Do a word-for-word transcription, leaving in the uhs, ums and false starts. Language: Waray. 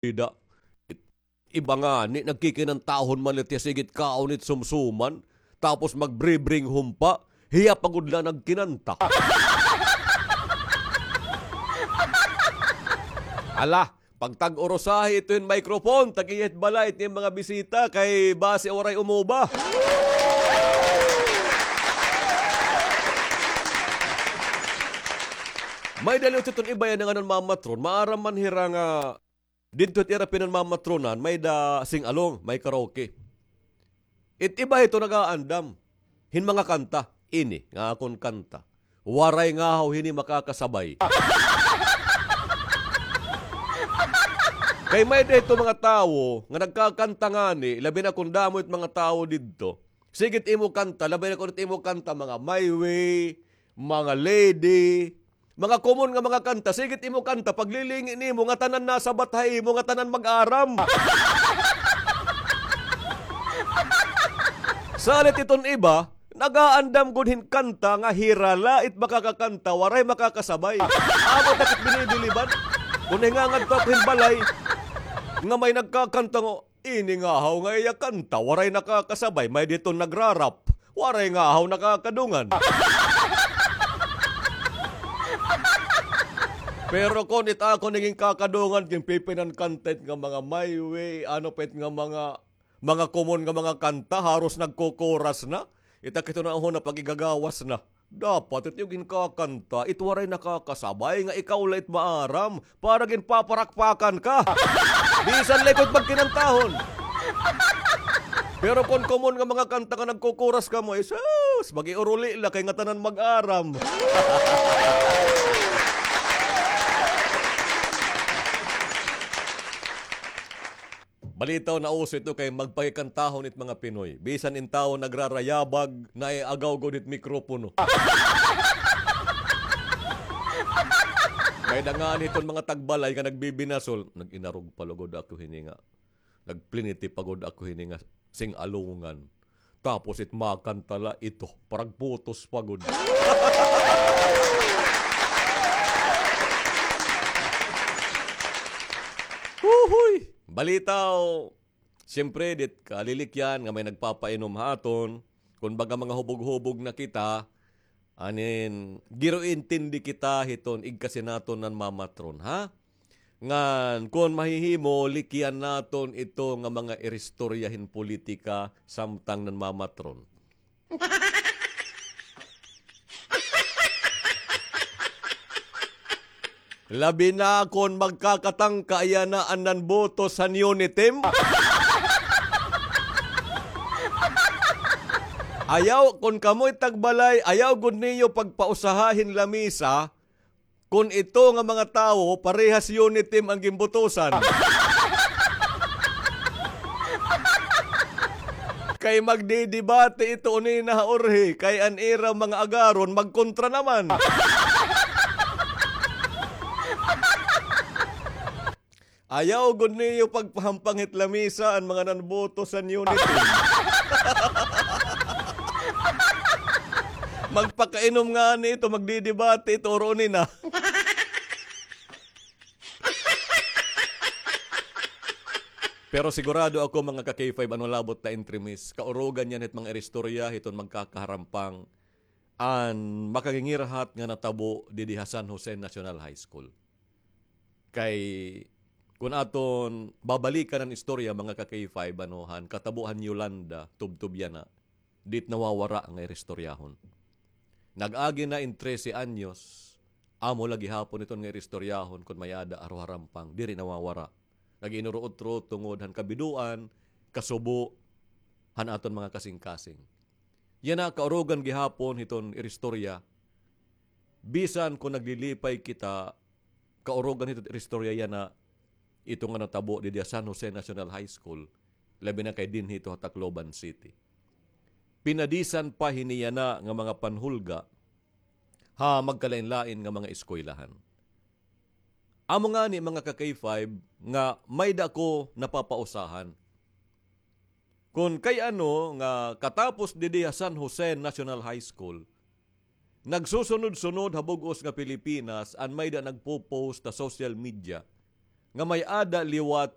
Ida. Iba ngani, nagkikinantahon man la it iya, sige it kaon it sumsuman, tapos magbri-bring home pa, hiya pa gud la nagkinanta. Ala, pagtag-urusahi ito hin microphone, tag-iya hit balay it iyang mga bisita, kay basi waray umuba. May-ada la iton iba yana nga nanmamatron, maaram man hira nga didto it ira pinanmamatronan, may-ada sing-along, may karaoke. It iba hito nag-aandam hin mga kanta. Ini nga akon kanta, waray ngahaw hini makakasabay. Kay may-ada hito mga tawo nga nagkakanta ngani, labi na kon damo it mga tawo didto. Sige it imo kanta, labi na kon it imo kanta, mga My Way, mga Lady, mga common nga mga kanta, sige it imo kanta, paglilingi nimo, ngatanan nasabat ha imo, ngatanan mag-aram. Salit iton iba, nag-aandam gud hin kanta nga hira la it makakakanta, waray makakasabay. Amo ta kit binibiliban. Kon nahingangadto ako hin balay, nga may nagkakanta nga, ini ngahaw nga iya kanta, waray nakakasabay, may-ada iton nagra-rap, waray ngahaw nakakadungan. Pero kon it akon nga ginkakadungan, ginpipinan kanta it nga mga My Way, ano pa it nga mga, mga common nga mga kanta, haros nagkukuras na. It ak ito na, ho, na pag-igagawas na. Dapat it iyo ginkakanta, it waray nakakasabay nga ikaw la it maaram, para ginpaparakpakan ka. Bisan la ikaw it magkinantahon. Pero kon common nga mga kanta nga nagkukuras kamo, eh, sus, mag-iuruli la kay ngatanan mag-aram. Balitaw, nauso ito kay magpakikantahon it mga Pinoy. Bisan in tawo nagrarayabag, naay agaw gud it mikropono. May-ada ngani hiton mga tagbalay nga nagbibinasol, nag-inarog pa lugod ako hini nga, nagpliniti pa gud ako hini nga sing-alongan. Tapos it makanta la ito, paragputos pa gud. Huhuy! Balitaw, siyempre, dit kalilikyan nga may nagpapainom ha aton, kun baga mga hubog-hubog na kita, anin, giro-intindi kita hiton igkasi naton nanmamatron, ha? Ngan, kon mahihimo, likyan naton ito nga mga iristorya hin politika samtang nanmamatron. Labi na kon magkakatangka yana an nanboto san Uniteam. Ayaw, kon kamoy tagbalay, ayaw gud niyo pagpausaha hin lamisa, kon ito nga mga tawo, parehas Uniteam an ginbotosan. Kay magdidebate ito unina ha urhi, kay an ira mga agaron magkontra naman. Ayaw gud niyo pagpahampang hit lamisa an mga nanboto san Uniteam. Magpakainom ngani ito, magdidebate ito, uro nina. Pero sigurado ako, mga ka-K five, ano labot na entremis, kaurugan niyan hit mga iristorya hiton magkakaharampang an makagingirhat nga natabo didi ha San Jose National High School. Kay kun aton babalikan an istorya, mga ka-K five, ano, han katabo han Yolanda, tubtob yana, dit nawawara nga iristoryahon. Nag-agi na in trese anyos, amo la gihapon iton nga iristoryahon kon may-ada ha Ruharampang, diri nawawara. Nag-inuruot-ruot tungod han kabidoan, kasubo han aton mga kasingkasing. Yana, kaurugan gihapon hiton iristorya. Bisan kon naglilipay kita, kaurugan hiton iristorya yana, ito nga natabo didi ha San Jose National High School, labi na kay dinhi ito ha Tacloban City. Pinadisan pa hini yana nga mga panhulga ha magkalain-lain nga mga eskwelahan. Amo ngani, mga ka-K five, nga may-ada ako napapausahan. Kon kay ano nga katapos didi ha San Jose National High School, nagsusunod-sunod ha bug-os nga Pilipinas an may-ada nagpo-post ha social media nga may-ada liwat